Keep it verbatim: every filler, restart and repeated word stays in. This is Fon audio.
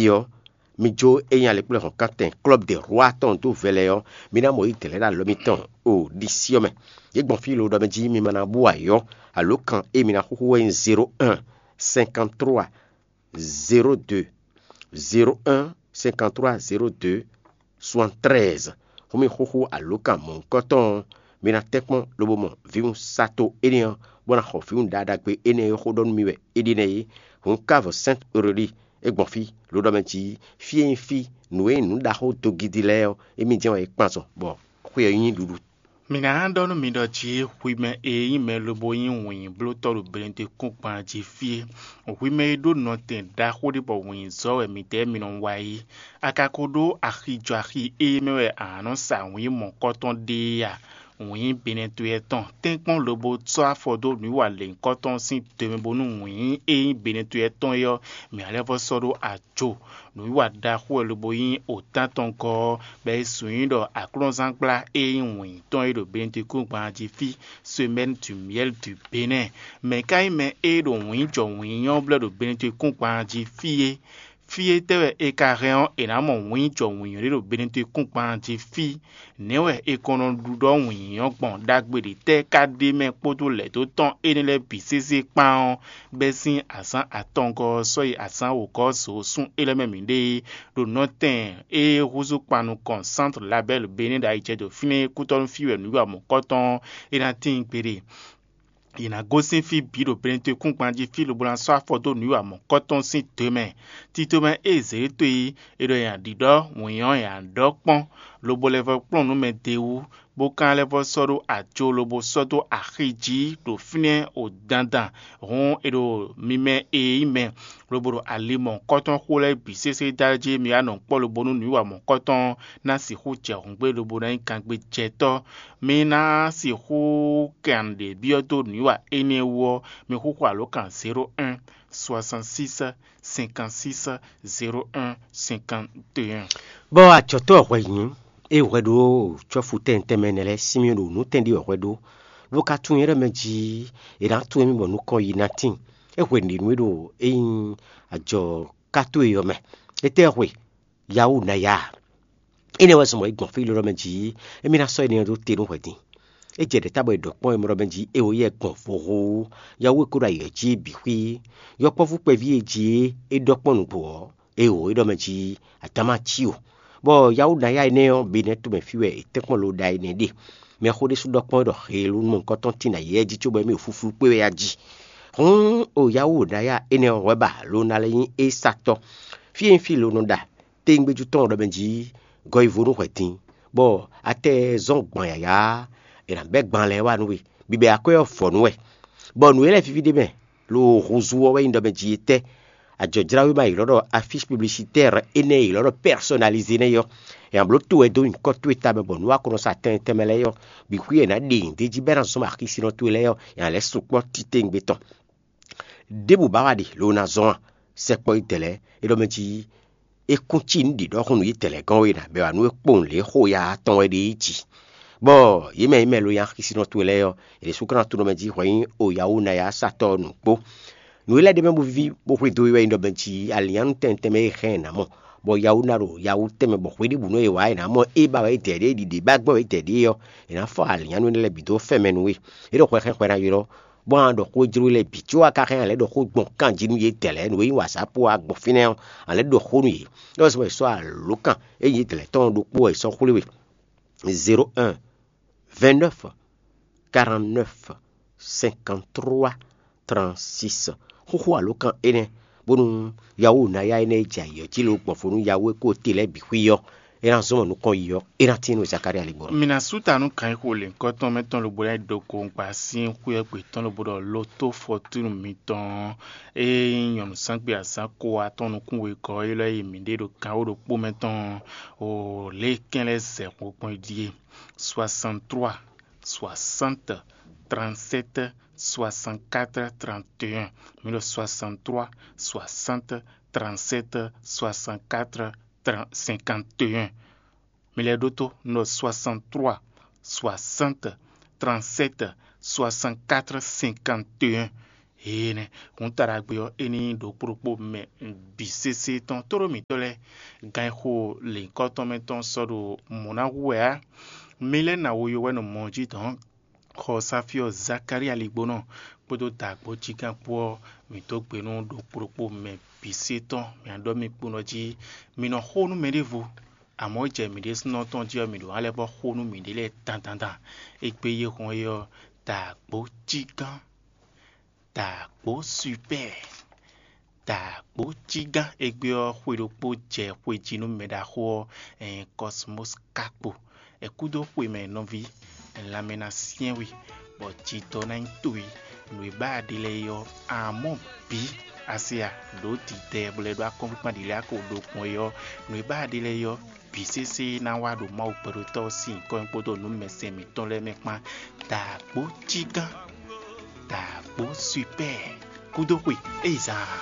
ɔ́, mi jó é nyí alɛkplɔ́hɔ́nkántɛn Club de Roi tɔn dó vɛ lɛ́ɛ ɔ́, mi ná mɔ yí dɛ̌lɛ́ ɖo alɔ mitɔn o ɖisí ɔ́ mɛ. Yě gbɔn fí lo ɖɔ mɛ jí mi ma ná bú ayɔ́ alǒkan e mi ná xúxú wɛ nyí zéro un cinquante trois zéro deux zéro un cinquante trois zéro deux soixante treize. Hǔn mi xúxú alǒkan mɔ̌hunkɔtɔn ɔ́, mi ná tɛ́nkpɔ́n lobo mɔ vǐwun sato énɛ́ ɔ́, bó ná xɔ vǐwun ɖaɖagbe énɛ́ e xó ɖɔ nú mi wɛ é ɖe nɛ́ é. Hǔn kávo Sɛ́nt Aurélie é gbɔn fí, lǒ ɖɔ mɛ jí fí e nyí fí nǔ e nyí nǔ ɖaxó dogidi lɛ́ɛ ɔ́, émí jɛ́n wɛ é kpan zɔn, bɔ xwé ɔ́ nyí ɖuɖu. Mǐ ná ɖɔ nú mi ɖɔ jí hwi mɛ e nyí mɛ lobo nyí wǐnyíblótɔ́ ɖo Benɛdekúngban jí fí é, hwi mɛ e ɖó nɔtɛn ɖaxó ɖé bɔ wǐnyízɔ́ wɛ midɛɛ mi nɔ wa é, a ka ko ɖó axi jɔ axi e mɛ wɛ a nǎ nɔ sa wǐn mɔ̌kɔtɔn ɖe é a? Wǐnyí Benɛtɔ́ tɔn, tɛ́nkpɔ́n lobo sɔ́ afɔ dó nǔwiwa lěhunkɔtɔn sín do mɛ bónú wǐnyí e nyí Benɛtɔ́ tɔn é ɔ́, mǐ ná lɛ́ vɔ́ sɔ́ ɖó ajo. Nǔwiwa ɖaxó wɛ lobo nyí otán tɔn gɔ́ ɔ́, bɔ é su nyí ɖɔ aklúnɔzángbla e nyí wǐnyí tɔn é ɖo Benɛdekúngban jí fí, Semaine du Miel du Bénin. Mɛ̌ ka nyí mɛ e ɖo wǐnyí jɔ wǐnyí ɔ́ blɛ́ ɖo Benɛdekúngban jí fí é? Fí étɛ́ wɛ è ka hɛn ɔ́, è nǎ mɔ wǐnyí jɔ wǐnyí ɖé ɖo Benɛdekúngban jí fí? Nɛ̌ wɛ è kɔn nɔ ɖuɖɔ wǐnyí ɔ́ gbɔn? Ɖagbe ɖě tɛ́ ka ɖ'é mɛ kpódó lɛ̌ dó tɔn énɛ́ lɛ́ɛ bǐ sésé kpán ɔ́, bɛ́ sín azǎn atɔngɔ́ ɔ́ sɔ́ yi azǎn wǒgɔ́ ɔ́ zǒ sún é lɛ́ɛ mɛ mǐɖée é, ɖo nɔtɛn e húzú kpan nukɔn Sántu Labɛ́lu Benɛ́ ɖo ayijɛdo fínɛ́ é kútɔ́ nú fí wɛ nǔ yi amɔ̌kɔ́tɔn ɔ́, é ná tíin gbeɖé. Yě ná gosín fí bǐ ɖo Benɛtɔ́ kúngban jí fí lobo ná sɔ́ afɔ dó nǔ yi amɔ̌kɔ́tɔn sín do mɛ. Tito mɛ e zě to yi, è ɖɔ nya ɖǐɖɔ́ wǐn ɔ́ nya ɖɔ kpɔ́n, lobo lɛ́ vɔ́ kplɔ́n nǔ mɛ d'é wú, bó ka lɛ́ vɔ́ sɔ́ ɖó ajo lobo sɔ́ dó axi jí ɖo fínɛ́ o dandan. Hǔn è ɖo mi mɛ e nyí mɛ, lobo ɖo ali mɔ̌hunkɔtɔn xo lɛ́ɛ bǐ sésé dó alɔ jí mi wá nɔ kpɔ́ lobo nú nǔwiwa mɔ̌hunkɔtɔn ɔ́ ná sixú jɛ hǔngbé lobo ná nyí gangbéjɛtɔ́. Mi ná sixú kan ɖě byɔ́ dó nǔwiwa énɛ́ wú ɔ́, mi xúxú alǒkan zéro un soixante six cinquante six zéro un cinquante et un. Bɔ ajɔ̌tɔ́ hwɛ nyǐ, é hwɛ ɖó cɔ́fu tɛntɛn mɛ nɛ́ lɛ́ɛ sín mì ɖo nǔtɛn ɖé hwɛ ɖó, bó ka tunwun nyɛ ɖɔ mɛ jí è nǎ tunwun mì bɔ nukɔn yi ná tíin. É hwɛ nǔɖé nú é ɖo é nyí ajɔ ká towe ɔ́ mɛ. Étɛ́ hwe? Yawu ná ya. Énɛ́ wɛ zɔn bɔ é gbɔn fí lɔ́ mɛ jí, émí ná sɔ́ énɛ́ ɔ́ dó te nú hwɛ din. É jɛ ɖɛ̌ tábɔ è ɖɔ kpɔ́n é mɔ ɖɔ mɛ jí é wǒ yɛ gbɔn vohó. Yawu e ko ɖo ayǐ ɔ́ jí bǐ xwí. Yɔkpɔ́vú kpɛví e jí é ɖɔ kpɔ́n nǔgbó ɔ́, é wǒ é ɖɔ mɛ jí adǎma cí o. Bɔ yawu ná ya énɛ́ ɔ́, be nɛ́ tomɛ fí wɛ è tɛ́ kpɔ́n lo ɖa énɛ́ ɖe. Mɛxó ɖésú ɖɔ kpɔ́n ɖɔ heelú nukɔntɔn tín ayǐ jí cóbɔ émí ɖo fúflú kpé wɛ a jí. Hǔn o yawu ná ya énɛ́ ɔ́ hwɛ ba lo ná lɛ́ nyí é satɔ́. Fí e nyí fí lo nɔ ɖa téngbéjú tɔn ɖɔ mɛ jí gɔ́yivo nú hwɛ din, bɔ atɛ zɔ́n gban yǎyá, è nǎ bɛ́ gban lɛ́ɛ wá nú we, bibɛ akwɛ́ ɔ́ vɔ̌ nú wɛ, bɔ nǔ e lɛ́ɛ víví ɖ'é mɛ lo húzú ɔ́ wɛ nyí ɖɔ mɛ jí etɛ́. Ajɔ̌jláwéma e è ylɔ́ ɖɔ afísi publisitɛ́r énɛ́ e è ylɔ́ ɖɔ pɛ́sɔnalizé nɛ́ é ɔ́, è nǎ bló to wɛ dó nyǐkɔ towe tamɛ bɔ nǔ wa ko nɔ sa tɛnmɛ tɛnmɛ lɛ́ɛ é ɔ́, bǐ xwí è nǎ ɖe nyǐ d'é jí bɔ é ná zɔ́n axisínɔ towe lɛ́ɛ ɔ́, è nǎ lɛ́ sukpɔ́ titewungbe tɔn. Ɖěbǔ ba wa ɖe lo ná zɔ́n a? Sɛkpɔ́ yi dɛ̌ lɛ́ɛ é ɖɔ mɛ jí é kún cí nǔ ɖě ɖɔhun nú yi dɛ̌ lɛ́ɛ gɔ́n é ná bɛ́ wá nú é kpowun lě xo ya tɔn wɛ ɖe é jí. Bɔ yě mɛ yě mɛ lo nyi axisínɔ towe lɛ́ɛ ɔ́, yě ɖésú ka ná tunɔ mɛ jí hwɛ nyí o yawu ná ya satɔ́ ɔ́ nǔ kpó. Nǔ e lɛ́ɛ ɖ'é mɛ bó víví bó xwedó é wɛ nyí ɖɔ mɛ jí alǐnnyánú tɛnmɛ tɛnmɛ e hɛn ɛ nǎ mɔ, bɔ yawu ná ɖo yawu tɛnmɛ bɔ hwěɖěbǔnu e wǎ è nǎ mɔ é ba wɛ é dɛ̌ ɖé ɖiɖě ba gbɔn wɛ é dɛ̌ ɖé ɔ́, è nǎ fɔ alǐnnyánú énɛ́ lɛ́ɛ bǐ dó fɛn mɛ nú we. É ɖo hwɛ xɛn hwɛ ná ylɔ́, bɔ a ɖɔ xó jló lɛ́ɛ bǐ có a ka hɛn a lɛ́ ɖɔ xó gbɔn kanjí nú yě dɛ̌ lɛ́ɛ nǔ e nyí wǎzápú ɔ́ a gbɔn fínɛ́ ɔ́, a lɛ́ ɖɔ xó nú yě. É wɛ sɔ́ wɛ è sɔ́ alǒkan e nyí dlɛ̌ tɔn ɔ́ ɖokpó wɛ è sɔ́ xwlé we: zéro un vingt neuf quarante neuf cinquante trois trente six. Xúxú alǒkan énɛ́, bónú yawu ná ya énɛ́ e jɛ ayǐ ɔ́ jí lo gbɔn fó nú yawu e kó te lɛ́ɛ bǐ xwí ɔ́, é ná zɔ́n mɔ nukɔn yi ɔ́, é ná tín nú Zakalía ligbɔ. Mi ná sú ta nú gǎnxo lěhunkɔtɔn mɛ tɔn lobo ná yi ɖo gongba sín xwé ɔ́ gbe tɔn lobo ɖɔ lo tó fɔtúnu mitɔn e nyí nyɔ̌nu sángbé azǎn ko atɔn nukún wegɔ́ é lɛ́ yi mǐɖée ɖo gǎnxo ɖokpó mɛ tɔn o lě e kɛn lɛ́ɛ zɛ xo gbɔn é ɖíe: soixante trois soixante trente sept soixante quatre trente et un. Mi ɖɔ soixante trois soixante trente sept soixante quatre cinquante et un. Mi lɛ́ ɖótó, un ɖɔ soixante trois soixante trente sept soixante quatre cinquante et un. Énɛ́ hǔn taɖagbe ɔ́, é ní ɖo kplokpó mɛ bǐ sésé tɔn tóɖó mǐtɔn lɛ́ɛ. Gan e xo lěhunkɔtɔn mɛ tɔn sɔ́ ɖo mɔ̌ ná hu wɛ ǎ. Mi lɛ́ ná wo yowɛ́nɔ mɔ jí dɔn xɔ Sáfíɔ Zakalía ligbónɔ kpódó dǎgbó jígán kpó ɔ́, mǐ dó gbe nú ɖo kplokpó mɛ bǐ sé tɔn. Mǐ ná ɖɔ mì kpónɔ jí, mi nɔ xo nú mɛɖěvo, amɔ̌ jɛ mǐ ɖésúnɔ tɔn jí ɔ́, mǐ ɖo ná lɛ́ vɔ́ xo nú mǐɖée lɛ́ɛ dandandan. Égbé yi hɔn é ɔ́, dǎgbó jígán, dǎgbó supɛ́ɛ, dǎgbó jígán. Égbé ɔ́, xwe ɖokpó jɛ xwe jí nú mɛ ɖaxó ɔ́, ɛn Kɔsmos ka kpo. È kúdó xwe mɛ nɔví, lanmɛ ná syɛ́n we, bɔ jidɔ ná nyí towe. Nǔ e ba ɖe lɛ́ɛ é ɔ́, amɔ̌ bǐ a se a ɖǒ didɛ bó lɛ́ ɖó akɔ́nkpinkpan ɖě lɛ́ɛ a ko ɖo gbɔn é ɔ́, nǔ e ba ɖe lɛ́ɛ é ɔ́, bǐ sésé ná wá ɖo Mawu gbɛɖotɔ́ ɔ́ sín nyǐkɔ mɛ kpódó nǔ mɛsɛn mǐtɔn lɛ́ɛ mɛ kpán. Dǎgbó jígán, dǎgbó supɛ́ɛ, kúdó xwe, é yi zaan.